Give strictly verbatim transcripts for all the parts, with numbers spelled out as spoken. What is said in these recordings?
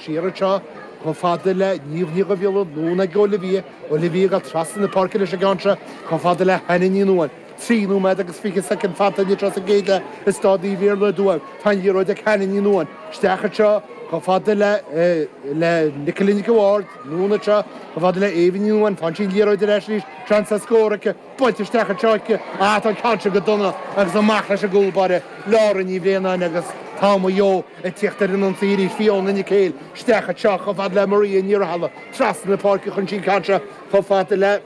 Siar anseo chomh fada le Niamh Ní Dhubhghiolla, anonn ag Olivia, Olivia ag dul trasna na páirce leis an gceann seo chomh fada le Hannah Ní Nuadháin. Trí nóiméad agus fiche soicind fanta anseo sa gcéad leath i Staid Naomh Iarlaith i dTuaim. Tá an liathróid ag Hannah Ní Nuadháin. Isteach anseo chomh fada le le Nicola Nic an Bhaird, anonn anseo chomh fada le Éabha Ní Nuadháin. Faigheann sí an liathróid ar ais arís, seans ar scór aici, buailte isteach anseo aici. Ah, tá an ceann seo go dona agus amach leis an gcúl báire, Laura Ní Bhraonáin agus tá Maigh Eo ag tíocht ar an ionsaí arís. Fiona Nic Héil isteach anseo chomh fada le Maria Ní Rathaille, trasna na páirce chun sí an ceann seo chomh fada le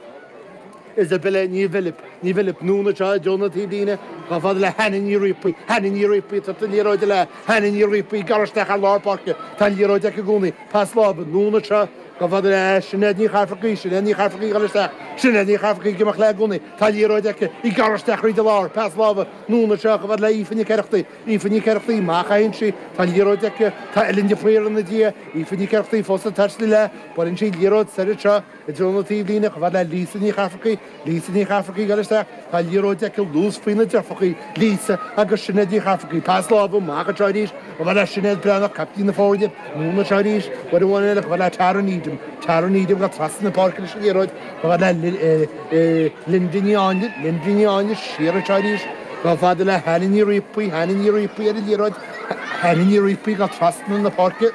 Isabella Ní Bhilip, Ní Bhilip, anonn anseo i dtreo na taobhlíne chomh fada le Hannah Ní Riapaí, Hannah Ní Riapaí, tabhairt an liathróid le Hannah Ní Riapaí, gearradh isteach ar lár páirce, tá an liathróid aici i gcónaí, pas láimhe, anonn anseo chomh fada le Sinéad Ní Chairfearcaigh, Sinéad Ní Chairfearcaigh ag dul isteach, Sinéad Ní Chairfearcaigh ag imeacht léi i gcónaí, tá an liathróid aici, í gearradh isteach thríd an lár, pas láimhe, anonn anseo chomh fada le Aoife Nic Oireachtaigh, Aoife Nic Oireachtaigh, amach a théann sí, tá an liathróid aici, tá Ellen de Paor ina diaidh, Aoife Nic Oireachtaigh fós ag taisteal léi, buaileann sí an liathróid soir anseo i dtreo na taobhlíne chomh fada le Lisa Ní Chairfearcaigh, Lisa Ní Chairfearcaigh ag dul isteach, tá an liathróid aici luas faoi na deirfiúracha, Lisa agus Sinéad Ní Chairfearcaigh, pas láimhe amach anseo arís chomh fada le Sinéad Breathnach, caiptín na foirne, anonn anseo arís, uair amháin eile chomh fada le Tara Needham, Tara Needham ag dul trasna na páirce leis an liathróid chomh fada le Linda Ní Áinle, Linda Ní Áinle siar anseo arís chomh fada le Hannah Ní Riapaí, Hannah Ní Riapaí ar an liathróid, Hannah Ní Riapaí ag dul trasna na páirce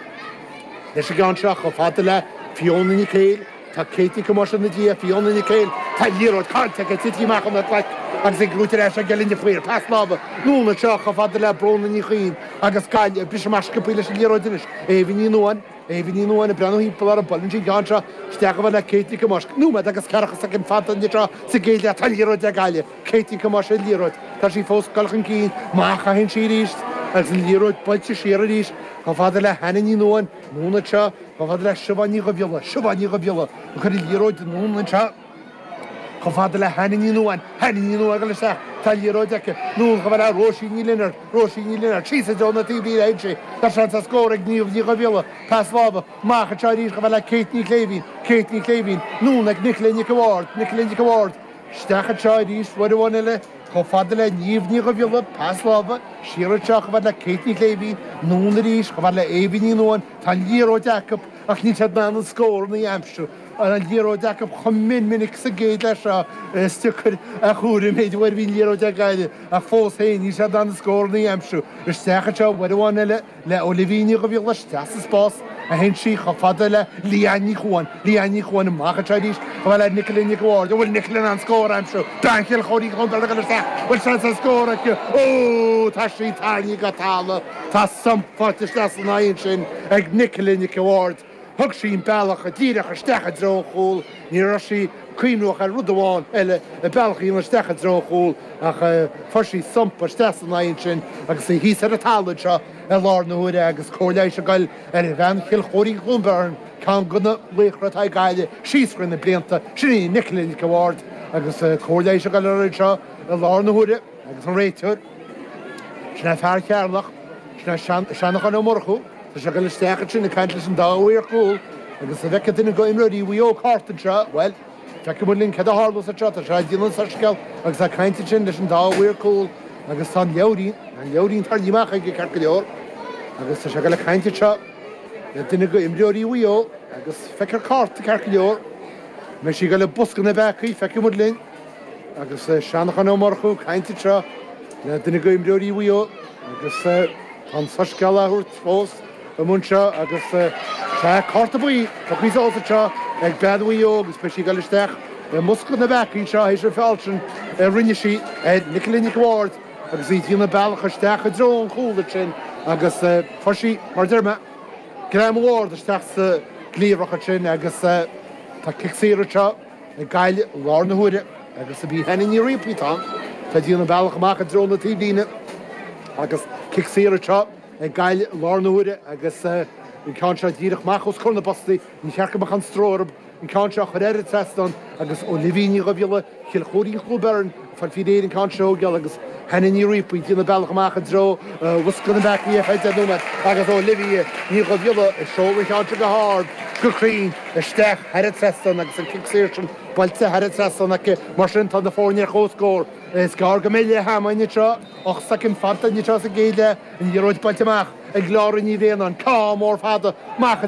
leis an gceann seo chomh fada le Fiona Nic Héil, Tá Kate Nic Thomáis ina diaidh, Fiona Nic Héil, tá an liathróid caillte aici, tití amach óna glaic agus ag luaitear ais ag Ellen de Paor, pas láimhe, anonn anseo chomh fada le Bróna Ní Chuinn agus Gaillimh ag briseadh amach sciobthaí leis an liathróid anois. Éabha Ní Nuadháin, Éabha Ní Nuadháin ag breathnú thimpeall orthu, buaileann sí an ceann seo isteach chomh fada le Kate Nic Thomáis. Nóiméad agus ceathracha soicind fanta anseo sa gcéad leath, tá an liathróid ag Gaillimh, Kate Nic Thomáis ar an liathróid, tá sí fós ag dul chun cinn, amach a théann sí arís agus an liathróid buailte siar arís chomh fada le Hannah Ní Nuadháin, anonn anseo chomh fada le Siobhán Ní Dhubhghiolla, Siobhán Ní Dhubhghiolla ag cur an liathróid anonn anseo chomh fada le Hannah Ní Nuadháin, Hannah Ní Nuadháin ag dul isteach, tá an liathróid aici, anonn chomh fada le Róisín Ní Lionáird, Róisín Ní Lionáird, síos i dtreo na taobhlíne a théann sí, tá seans ar scór ag Niamh Ní Dhubhghiolla, pas láimhe, amach anseo arís chomh fada le Kate Ní Chléibhín, Kate Ní Chléibhín, anonn ag Nicola Nic an Bhaird, Nicola Nic an Bhaird, isteach anseo arís, uair amháin eile, chomh fada le Niamh Ní Dhubhghiolla, pas láimhe, siar anseo chomh fada le Kate Ní Chléibhín, anonn arís chomh fada le Éabha Ní Nuadháin, tá an liathróid acu ach níl siad in ann an scór a aimsiú. An liathróid acu chomh mion minic sa gcéad leath seo is deacair a chomhaireamh an méid uair a bhí an liathróid ag Gaillimh ach fós féin níl siad in ann an scór a aimsiú. Isteach anseo uair amháin eile le Olivia Ní Dhubhghiolla isteach sa spás a théann sí chomh fada le Leanne Ní Chuan, Leanne Ní Chuan amach anseo arís chomh fada le Nicola Nic an Bhaird. An bhfuil Nicola in ann scór a aimsiú? Bean Chill Chóirín Chontae ag dul isteach. Bhfuil seans ar scór aici? Ó! Tá sí tarraingthe go talamh. Tá stump faighte isteach san aghaidh ansin ag Nicola Nic an Bhaird. Thug sí an bealach díreach isteach i dtreo an chúil. Ní raibh sí cuimhneach ar rud amháin eile, an bealach a dhéanamh isteach i dtreo an chúil ach fuair sí stump isteach san aghaidh ansin agus í thíos ar an talamh anseo i lár na huaire agus cóir leighis ag goil ar bhean Chill Chóirín Chluain Bheirn, ceann de na laochra atá ag Gaillimh síos thrí na blianta, sin í Nicola Nic an Bhaird agus cóir leighis ag goil uirthi anseo i lár na huaire agus an réiteoir, sin é fear Cheatharlach, sin é Seanchán Ó Murchú, tá sé ag goil isteach ansin ag caint leis an dá mhaor cúil agus an bhfeicfidh duine d'imreoirí Mhaigh Eo cárta anseo, bhuel, feicfidh muid linn céard a tharlós anseo, tá sé ag déanamh an soiscéal agus ag caint ansin leis an dá mhaor cúil agus tá an leabhairín, an leabhairín tarraingthe amach aige ceart go leor agus tá sé ag goil ag caint anseo le duine d'imreoirí Mhaigh Eo agus feicfear cárta ceart go leor. An mbeidh sí ag goil i bosca na bpeacaí, feicfidh muid linn agus Seanchán Ó Murchú ag caint anseo le duine d'imreoirí Mhaigh Eo agus tá an soiscéal á thabhairt fós amuigh anseo agus sea, cárta buí tugtha suas anseo ag bean Mhaigh Eo agus beidh sí ag goil isteach i mbosca na bpeacaí anseo théis an feall sin a rinne sí ar Nicola Nic an Bhaird agus í ag déanamh bealach isteach i dtreo an chúil ansin agus fuair sí, mar a deir mé, greim ard isteach sa gcliabhrach ansin agus tá cic saor anseo ag Gaillimh i lár na huaire agus ab í Hannah Ní Riapaí atá ann. Tá ag déanamh bealach amach i dtreo na taobhlíne agus cic saor anseo ag Gaillimh i lár na huaire agus an ceann seo díreach amach os comhair na bpostaí. Ní cheart go mbeadh aon stró orthu an ceann seo a chur ar an trasnán agus Olivia Ní Dhubhghiolla, Chill Chóirín Chluain Bheirn, ag fáil faoi réir an ceann seo a thógáil agus Hannah Ní Riapaí ag déanamh bealach amach i dtreo bhosca na bpeacaí ar feadh deich nóiméad agus Olivia Ní Dhubhghiolla ag seoladh an cheann seo go hard, go cruinn, isteach thar an trasnán agus an cic saor sin buailte thar an trasnán aici. Mar sin tá na foirne ar comhscór. Is gearr go mbeidh leath ama againn anseo, ocht soicind fanta anseo sa gcéad leath, an liathróid buailte amach ag Laura Ní Bhraonáin, ceann mór fada amach i